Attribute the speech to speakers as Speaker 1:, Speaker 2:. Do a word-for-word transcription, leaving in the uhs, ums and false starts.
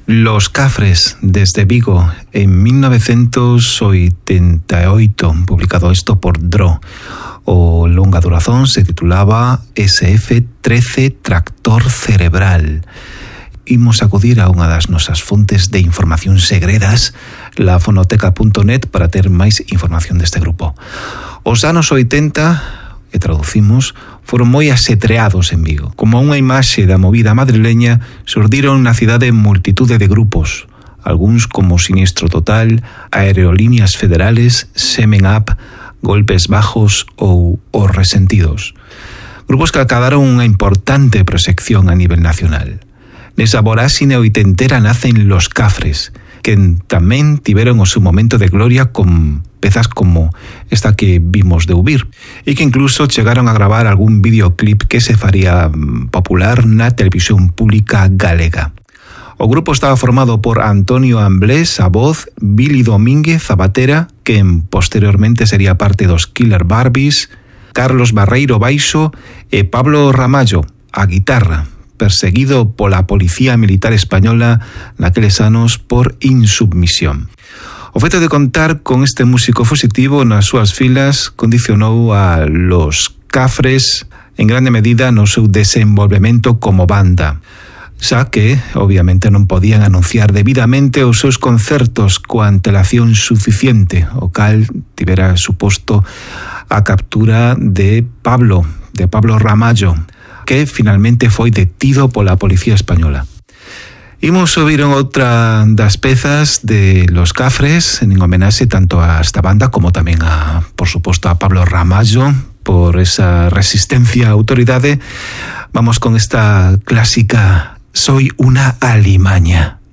Speaker 1: Los Cafres, desde Vigo, en mil novecientos oitenta e oito, publicado isto por Dro. O longa duración se titulaba ese efe trece Tractor Cerebral. Imos acudir a unha das nosas fontes de información segredas, la fonoteca punto net, para ter máis información deste grupo. Os anos oitenta, e traducimos, foron moi asetreados en Vigo. Como unha imaxe da movida madrileña, surdiron na cidade multitude de grupos, algúns como Sinistro Total, Aerolíneas Federales, Semen Up, Golpes Bajos ou Os Resentidos. Grupos que acadaron unha importante proxección a nivel nacional. Nesa voráxine oitentera nacen Los Cafres, que tamén tiveron o seu momento de gloria con pezas como esta que vimos de Ubir, e que incluso chegaron a gravar algún videoclip que se faría popular na televisión pública galega. O grupo estaba formado por Antonio Amblés a voz, Billy Domínguez a batera, que posteriormente sería parte dos Killer Barbies, Carlos Barreiro baixo e Pablo Ramallo a guitarra, perseguido pola Policía Militar Española naqueles anos por insubmisión. O feito de contar con este músico fusitivo nas súas filas condicionou a Los Cafres en grande medida no seu desenvolvemento como banda, xa que, obviamente, non podían anunciar debidamente os seus concertos coa antelación suficiente, o cal tivera suposto a captura de Pablo, de Pablo Ramallo, que finalmente foi detido pola Policía Española. Imos ouvir outra das pezas de Los Cafres en homenaxe tanto a esta banda como tamén a, por suposto, a Pablo Ramallo por esa resistencia a autoridade. Vamos con esta clásica Soy una alimaña.